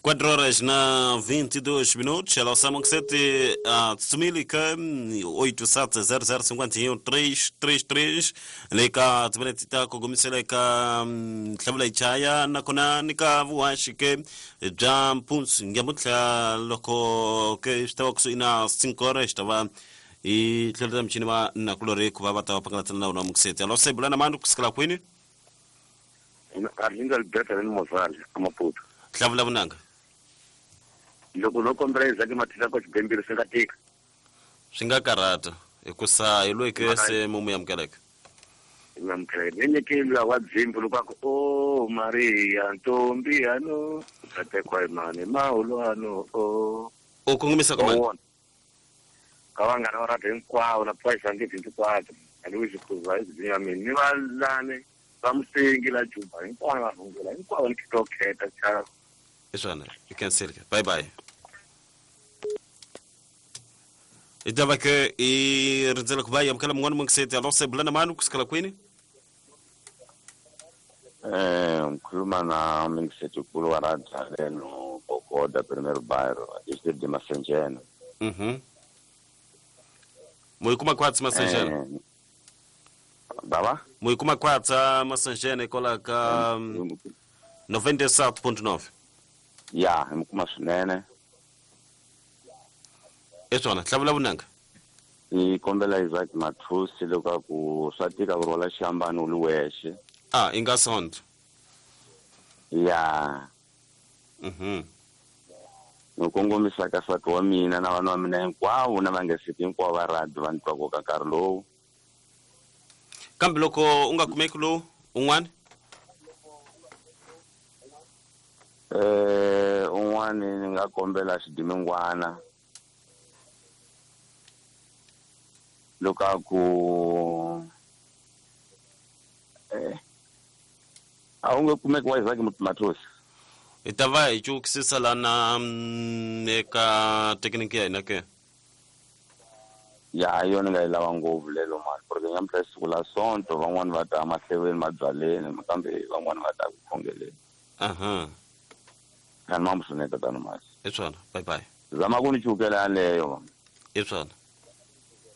4 horas na 22 minutos. Ela sama sete a tsumili ka 870051 leka timinete ta kugumisela eka hlawula ichaya nakona ni ka vuhaxi ke bya mpundzu nyamuntlha loko ke swi ta va kusuhi na 5 horas ta va hi tlhelela michini va nakulorhi ku va va ta va pangalatsana na wona mukiseti. Alo se bula na mani kusukela kwini? Arlindo Alberto ni Mozali amaputo. Hlavula vunanga. Loko no kombela Isaac Mathisa ko xibembiri swi nga tika. Swi nga karhata hikusa hi loyi ke se mumu amukeleka. Ngamkhele nyikela wa dzimbu loko aku o Maria ntombi yano tatekwa imani mahulwano o. U kongomisa ka mani? Ka vanghana va radio hinkwavo na Poison nge hinkwavo. Alois Khuza izinya mina ni valane va musengi la Juba hinkwavo va rhungula hinkwavo ni khito kheta cha. Iswana, you can see. Bye bye. Itava ke i rindzela ku va yi amukela mun'wana mungiseti. Alo se bula na mani kusukela kwini? Ngikhuluma na Mingiseti Nkulu wa Radzaleno Bogoda Primeiro Bairro, distrito de Massangena. Moikuma kwatsa Massangena? Baba? Moikuma kwatsa Massangena ikola ka 97.9. Ya, himukuma swinene. Eswana, hlavula vunanga. Ni kombela Isaac Mathusi loko ku swa tika ku rhwala xihambano u li wexe. Ah, i nga sonto. Ya. Ni kongomisa ka nsati wa mina na vana va mina hinkwavo na vangeseti hinkwavo va radio va ni twaka ka nkarhi lowu. Kambe loko u nga kumeki lowu un'wana? Un'wana ni nga kombela xidimingwana. Loko a ku a wu nge kumeki wa Isaac Mathosi. Hi ta va hi cukisisa lana eka thekiniki ya hina ke. Ya, hi yona nga yi lava ngopfu lelo mali, porque nyamuntlha siku la Sonto van'wani va ta mahleveni mabyaleni kambe van'wani va ta ku khongeleni. Kani mambu swinene tatana Masi. Hi swona, bye bye. Zama ku ni cukela yaleyo. Hi swona.